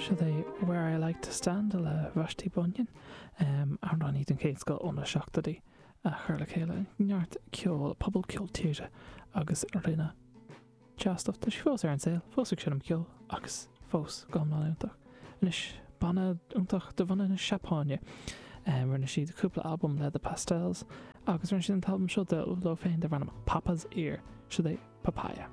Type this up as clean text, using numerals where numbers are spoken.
Siod é Where I Like To Stand le Vashti Bunyan, amhránaí den chéad scoth ó na seachtóidí a chur le chéile neart ceol, pobal ceol tíre agus rinne dea-stuff. Tá sí fós ar an saol, fós ag seinm ceoil agus fós go hiomlán iontach. Anois, banna iontach de bhunadh na Seapáine. Rinne siad cúpla albam le The Pastels agus rinne siad an t-albam seo leo féin darb ainm Papa's Ear. Siod é Papaya.